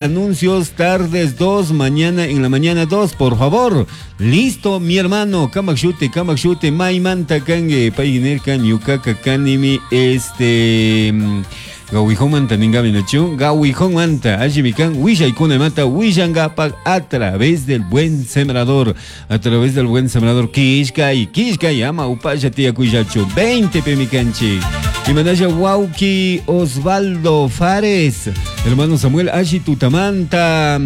Anuncios tardes 2, mañana en la mañana 2, por favor. Listo, mi hermano. Kamakshute, kamakshute, maymanta kangue, paynerka, ñukaka kanimi, este. Gawijomanta ningami nachu, Gawijomanta, allimikan, willaykuna willangapak a través del buen sembrador, a través del buen sembrador, kishkay, kishkay, ama upalla tiyakullachu, 20 pemikanchik. Imanalla wauki Osvaldo Fares, hermano Samuel Ashi Tutamanta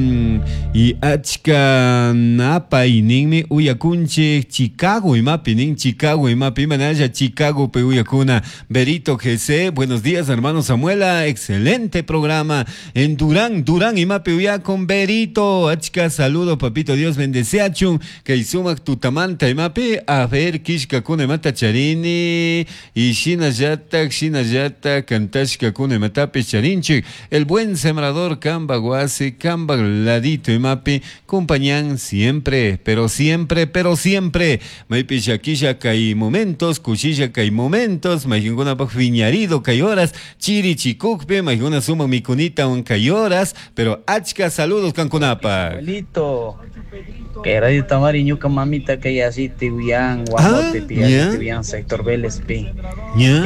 y achka napay ninmi uyakunchik Chicago imapi nin Chicago imapi imanalla Chicago pe uyakuna Berito GC, buenos días hermano Samuela, excelente programa en Durán, Durán imapi uyakun Berito, achka saludo papito Dios bendeceachun, kay sumak tutamanta imapi, a ver kishkakuna imata charini y shinallatak shinallata kantashkakuna imatapish charinchik, el buen sembrador kamba wasi kamba ladito imapi compañan siempre, pero siempre, pero siempre, maypi llakilla kay momentos, kushilla kay momentos, mayqinkunapak phiñarido kay horas, chiri chikukpi, mayqina sumak mikunita kay horas, pero achka saludos kankunapak. Abuelito, que radio Tamari ñuka mamita kay así uyan, Guamote pi, ya. uyan, sector Vélez pi. Ya.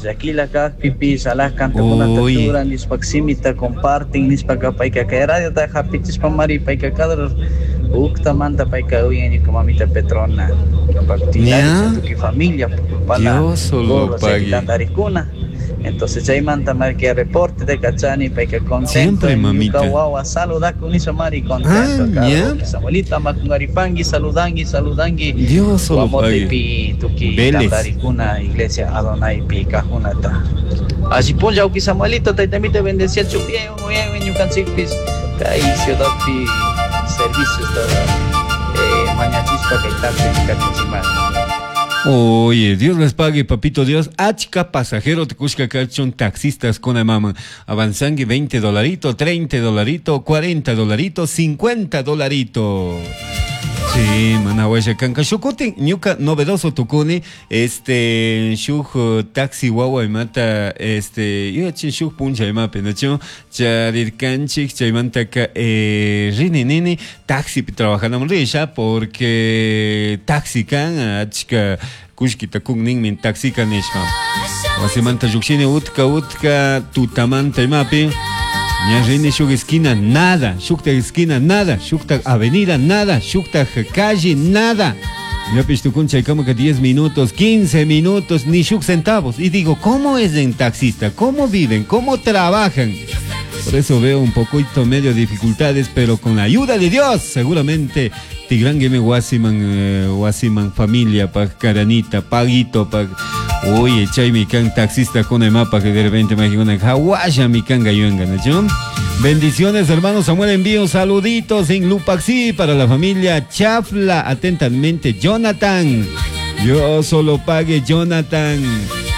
Llakila kajpi pi, salah kantakuna Uy. tatura, nishpak simita comparten, nishpak payka kay radio ta hapichishpa mari payka kadro uktamanta payka uyan ñuka mamita Petrona. Ya. Tuki familia, pala, Dios solo gorro, pague. tantarikuna. Entonces chaymanta marca reporte de Cachani, payka contento. Siempre, mamita. Ñuka wawa saluda con eso mari contento. Ah, ya. Samuelita makungaripangui, saludangui, saludangui. Dios solo Guamote pague. pi tuki Vélez. tantarikuna iglesia Adonai pi kajunata. Así punja uki Samuelito, taitamita bendecía bien, bien, ñukanchikpis kay ciudad pi servicios todo. Mañachispa kay taxi kachinchimari. Oye, Dios les pague, papito Dios. Achka pasajero te kushka kachun taxistas con mama. Avanzangui 20 dolarito, 30 dolarito, 40 dolarito, 50 dolarito. Sí, mana washa kanka shukutin ñuka novedoso tukuni este shuk taxi wawa imata este yuyachin shuk puncha imapi nachu charirkanchik chaymantaka rini nini taxipi trabajanamun risha porque taxi kan achka kullkita kun ninmi taxika nishpa wasimanta llukshini utka utka tutamanta imapi ña rini shuk esquina nada, shukta esquina nada, shukta avenida nada, shukta calle nada. Ya tukun chaykama que 10 minutos, 15 minutos, ni shuk centavos. Y digo, ¿cómo es en taxista? ¿Cómo viven? ¿Cómo trabajan? Por eso veo un poquito medio dificultades, pero con la ayuda de Dios, seguramente Tigrangueme wasiman, wasiman familia, pa karanita, paguito, pa. Oye, chay mi can taxista con el mapa que de repente me dijo, hawaya mi can gayuenga, ¿no? Bendiciones, hermano Samuel, envío saluditos en Lupaxi para la familia Chafla. Atentamente, Jonathan. Yo solo pague, Jonathan.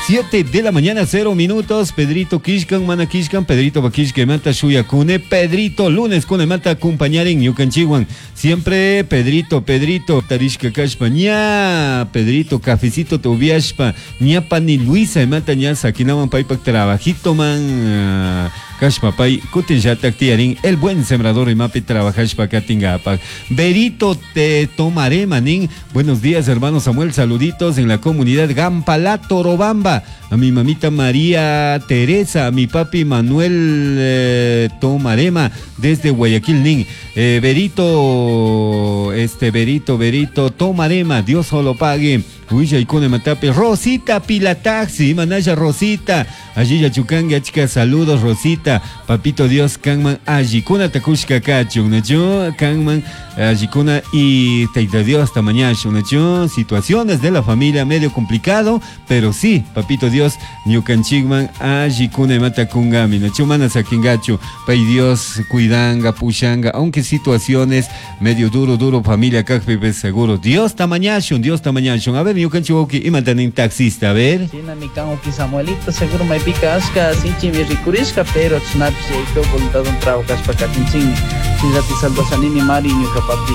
7 de la mañana, 0 minutos. Pedrito Kishkan, Mana Kishkan, Pedrito Bakishke Mata, Shuya Kune, Pedrito, lunes Kune Mata, acompañar en Ñukanchiwan. Siempre Pedrito, Pedrito, Tarishka Kashpa, ña, Pedrito, cafecito Tobiashpa, ña pani Luisa, Mata, ña, Sakinawan Paipak, trabajito man, Kashpa Pay, Kutin Yatak Tiarín, el buen sembrador y mapi trabajashpa Katingapak. Berito te tomaré, manín. Buenos días, hermano Samuel, saluditos en la comunidad Gampalá, Torobamba. A mi mamita María Teresa, a mi papi Manuel Tomarema, desde Guayaquil, Nin. Berito, este Berito, Berito Tomarema, Dios solo pague. Huilla y Cone Matape, Rosita Pilataxi, Manaya Rosita, allí Yachucanga, chica, saludos Rosita, papito Dios, Kanman, Allicuna Takushka Kachun, Nacho, Kanman, Allicuna y Teita Dios hasta mañana, Nacho, situaciones de la familia medio complicado, pero sí, papito Dios, Ñukanchigman, Allicuna y Matakungami, Nacho, Mana Sakingacho, Pay Dios, Cuidanga, Pushanga, aunque situaciones medio duro, duro, familia, Kakpipe, seguro, Dios tamañashun, Dios tamañashun, a ver, ñukanchik imatanin taxista, a ver. China mi kan uki Samuelito, seguro maypika ashka sinchimi rikurishka, pero chinapish yayko voluntad un trabajashpa katinchikmi. Shinllati salvashanini mari ñuka papi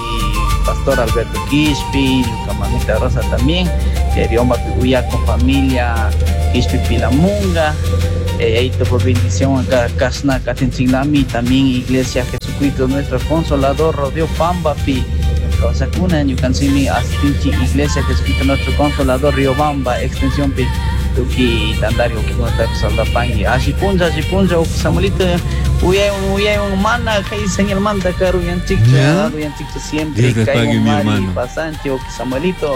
Pastor Alberto Quispi, ñuka mamita Rosa también, que Dios mapi uyakun familia Quispi Pilamunga. Yayaito por bendición acá Kasna Katinchiglami, también Iglesia Jesucristo nuestro Consolador Rodeo Pambapi. Kawsakuna ñukanchikmi astinchik Iglesia Jesucristo nuestro Consolador Riobamba extensión pi tukuy tantari ukikunatapish saludapangui. Alli punlla, alli punlla, uki Samuelito uyaywan uyaywan mana kay señalmanta karuyanchikchu, karuyanchikchu siempre Dios les pague, kaywan mi mari hermano. pasanchik uki Samuelito.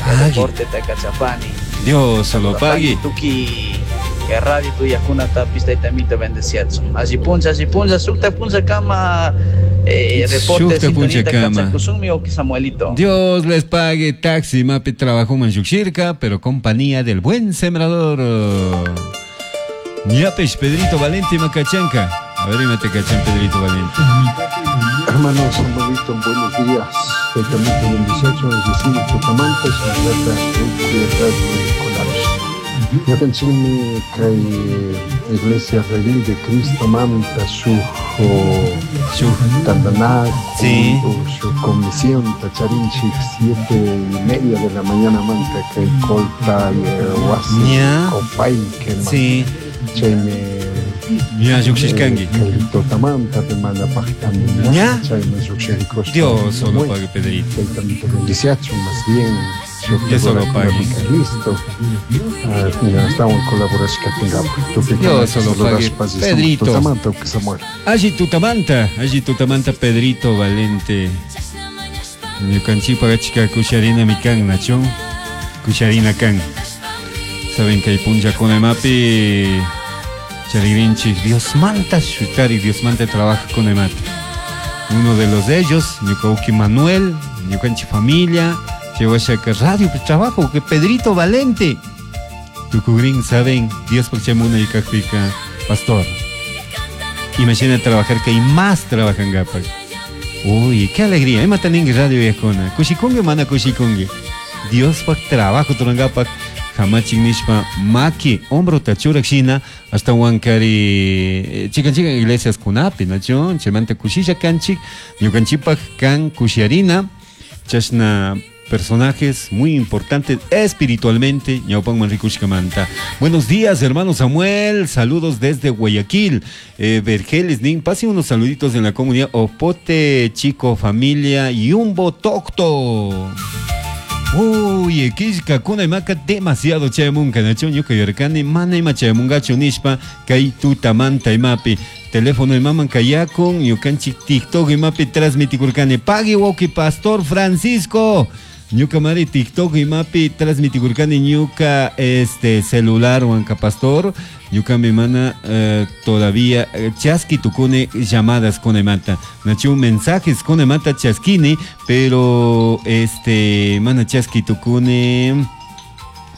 Pague. Reporte takachapani. Dios lo pague. Tuki radio tuyakunatapish taytamito bendeciachun. Alli punlla, alli punlla, sukta punlla kama reporte Sukta punlla sintonita kama. kachakusunmi uki Samuelito. Dios les pague. Taxi mapi trabajo manchuxirca, pero compañía del buen sembrador. Ñapesh Pedrito Valente Macachanca. A ver, imate cachan Pedrito Valente. Hermano Samuelito, buenos días. Taytamito bendiciachun, es decir, tutamanta, shinallata Nicolás. Ñukanchikmi kay Iglesia Redil de Cristo manta shuk tantanakuy o shuk comisión tacharinchik 7:30 de la mañana manta kay Colta wasi Copaique man. Chaymi Ña lluqshishkanki. Kay tutamanta rimana paqtami Ña. Chaymi lluqshirikushpa. Dios solo Muy pague, Pedrito. Taytamito bendiciachun, más bien. Dios solo pague. Listo. Ah, estamos en colaboración. Dios solo pague, Pedrito. Tutamanta, que se muere. Allí tutamanta, allí tutamanta, Pedrito Valente. Ñukanchikpa achka kusharina mi kan, nacho. Kusharina kan. Saben que hay puncha con emapi. Charirinchik, Dios manta shutari, Dios manta trabaja con emate. Uno de los de ellos, ñukauki Manuel, ñukanchi familia, llegó a sacar radio, pues, trabajo, que Pedrito Valente. Tucugrin, saben, Dios por chamuna y cajpica, pastor. Imagina trabajar que hay más trabajan gapak. Uy, qué alegría. Ima taningi radio viejona. Kushikungi mana kushikungi. Dios pak trabajo turangapak. Hamachin nishpa maki hombro tachurak shina hasta wankari chikan chikan iglesias kunapi nacho chaymanta kushisha kanchik ñukanchikpak kan kushiarina chashna personajes muy importantes espiritualmente ñawpanman rikushkamanta. Buenos días, hermano Samuel, saludos desde Guayaquil. Vergeles, nin, pase unos saluditos en la comunidad Opote, Chico, familia Yumbo Tocto. Uy, kishka kuna imaka demasiado chayamunka, nacho ñuka yarkani, mana ima chayamungachu nishpa, kay tutamanta imapi. Teléfono imaman kayakun, ñukanchik TikTok imapi transmitikurkani. Pagui woki Pastor Francisco. Ñuka mari TikTok imapi transmitikurkani ñuka este celular wanka pastor. Ñuka mi mana todavía chaski tukune llamadas con imata. Nachu mensajes con imata chaskini, pero este mana chaski tukune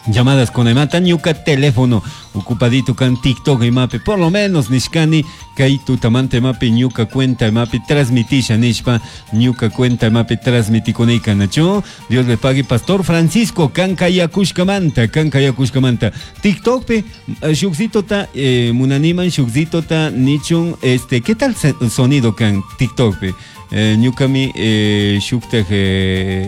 llamadas con imata ñuka teléfono ocupadito kan TikTok imapi, por lo menos nishkani kay tutamante imapi ñuka cuenta imapi transmitisha nishpa ñuka cuenta imapi transmitikunika nachu. Dios le pague Pastor Francisco kan kayakushkamanta, kan kayakushkamanta. TikTok pe shukzito ta munaniman shukzito ta nichun este ¿qué tal sonido kan TikTok pe? Ñukami shuktaj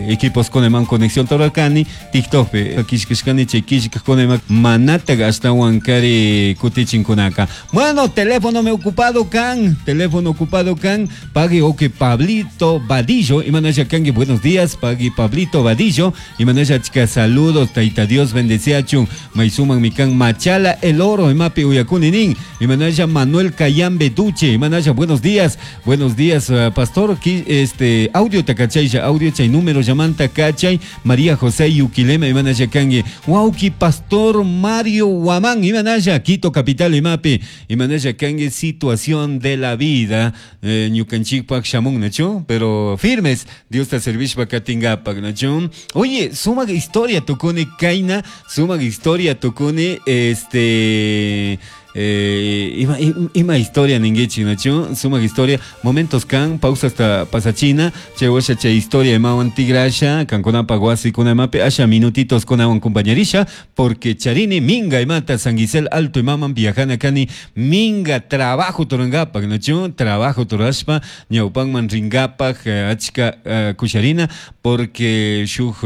equipos con eman conexión toralcani TikTok pe kishkishkani chay kishkaj con eman manata hasta wankari kutichinkunaka. Bueno, teléfono me ocupado kan, teléfono ocupado kan, pague oke Pablito Vadillo y manaya kangi buenos días, pague Pablito Vadillo y manaya chica saludos, taita Dios bendeciachun, maisuman mi kan machala el oro y mapi uyakuni nin y manaya Manuel Cayambe Duche y manaya buenos días, buenos días, pastor. Aquí, este, audio tacachay, ya, audio chay, número llamanta cachay, María José Yuquilema, Imanaya Kangue, Wauki Pastor Mario Guamán, Imanaya, Quito Capital, Imapi, Imanaya Kangue, situación de la vida, Ñucanchikpak Shamun, Nacho, pero firmes, Dios te servish bakatingapak, Nacho. Oye, suma historia tocone Kaina, suma historia tocone, este... Ima historia ninguichi, nacho, suma historia, momentos kan, pausa hasta pasachina, che washa che historia imawan tigrasha, kan konapa guasi konamape, asha minutitos konawan compañerisha, porque charini minga imata San Gisel alto imaman viajana kani, minga trabajo torangapak, nacho, trabajo torashpa, ñaupanman ringapak, achka kusharina, porque shuj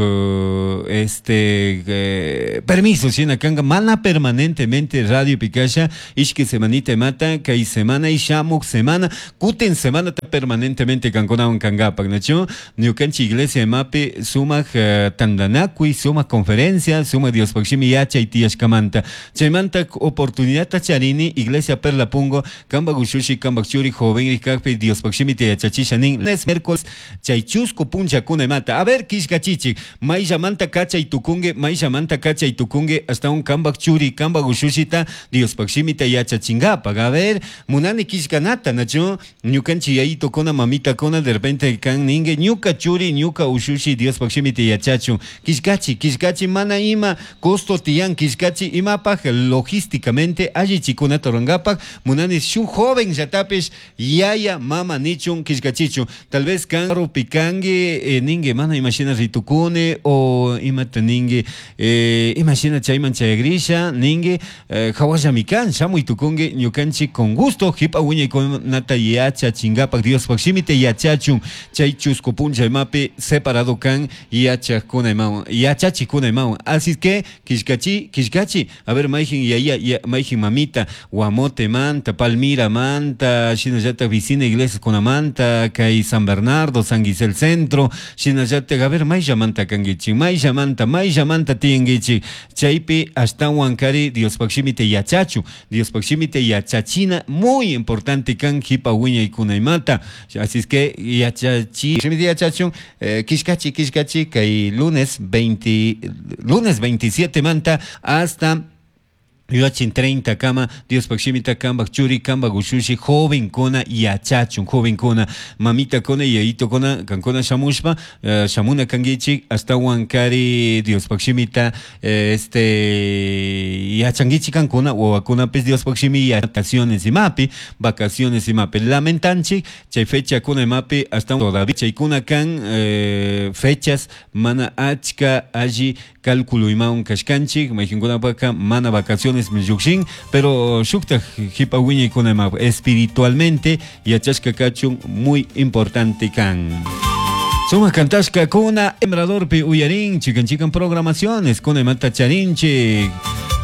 este permiso, sina kanga, mana permanentemente radio pikasha, Ishki semanita imata kay semana y shamuk semana kutin semanata permanentemente kankunawan kankapak, nachu? Ñukanchik iglesia imapi sumak tantanakuy, sumak conferencia, sumak Diospaj shimi yachay tiyashkamanta. Chaymanta oportunidadta charini iglesia Perla Pungo, kambak ushushi, kambak churi joven kakpi Diospaj shimita yachachisha nin. Lunes, miércoles, chay chusku punllakuna imata. A ver, killkachichik, mayllamanta kachay tukunki, mayllamanta kachay tukunki, hasta un kambak churi, kambak ushushita Diospaj shimita yachachinkapak. A ver, munani killkanata, nachu? Ñukanchik yayitukuna, mamitakuna, de repente kan ninki, ñuka churi, ñuka ushushi Diospaj shimita yachachun. Killkachi, killkachi, mana ima costo tiyan, killkachi imapaj logísticamente allichikunata rurankapak, munani shuk joven llatapish yaya mama nichun killkachichun. Tal vez kan rupikanki, ninki mana imashina ritukuni o imata ninki, imashina chayman chayagrisha ninki, hawallami kan shamuy tukunki ñukanchik con gusto jipa wiñaykunata yachachinkapak Diospaj shimita yachachun. Chay chusku punlla imapi separado kan yachakuna imawan, yachachikuna imawan. Así que killkachi, killkachi, a ver mayjin yaya, ya, mayjin mamita, Guamote manta, Palmira manta, shinallatak vicina iglesia kunamanta, kay San Bernardo, San Gisel Centro, shinallatak, a ver mayllamanta kankichik, mayllamanta, mayllamanta tiyankichik. Chaypi ashtawan kari Diospaj shimita yachachu, Diospaj shimita yachachina muy importante kan jipa wiñaykuna imata. Así es que yachachi, shimita yachachun, killkachi, killkachi, kay lunes 20, lunes 27 manta hasta Yachin 30 kama Diospaj shimita kambak churi kambak ushushi joven kona yachachun joven kona mamita kona yayito kona kankona shamushpa, shamuna kangichik ashtawan kari Diospaj shimita, yachangichik kankuna wawakunapis Diospaj shimi vacaciones imapi, vacaciones imapi lamentanchik chay fecha kuna imapi hasta todavía chaykuna kan, fechas mana achka alli cálculo imawan kashkanchik mayqinkunapaka mana vacaciones llukshin, pero shuktaj jipa wiñaykuna ima espiritualmente yachashka kachun muy importante kan. Sumak kantashka kuna Sembradorpi uyarin chikan chikan programaciones kuna imata charinchik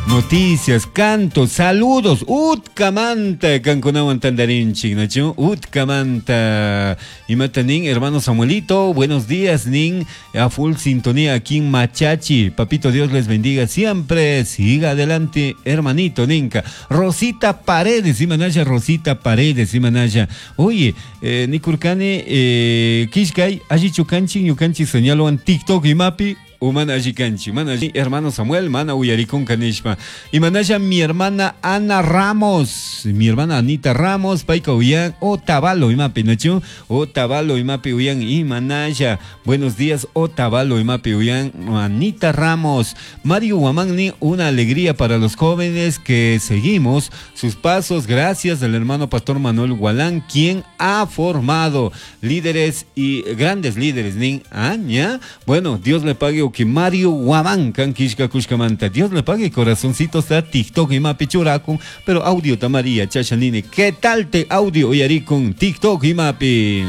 noticias, cantos, saludos, utkamanta kankunawan tandarinchik, nachu? Utkamanta. Imata nin, hermano Samuelito, buenos días, nin, a full sintonía aquí en Machachi. Papito Dios les bendiga siempre, siga adelante, hermanito, ninka. Rosita Paredes, imanaya, Rosita Paredes, imanaya. Oye, nikurkani, kishkay, allichu kanchi, ñukanchi señaloan TikTok imapi, Umana alli kanchi, mana alli, hermano Samuel, mana uyarikunka nishpa. Imanaya mi hermana Ana Ramos, mi hermana Anita Ramos, payka uyan, Otavalo imapi, nachu? Otavalo imapi uyan, imanaya. Buenos días, Otavalo imapi uyan, Anita Ramos. Mario Guamán, una alegría para los jóvenes que seguimos sus pasos, gracias al hermano Pastor Manuel Gualán, quien ha formado líderes y grandes líderes, nin, aña. Bueno, Dios le pague que Mario Guamán kan kishka kushkamanta. Dios le pague, corazoncito está TikTok y mapi churakun, pero audio tamaría chachanine. ¿Qué tal te audio uyarikun TikTok y mapi?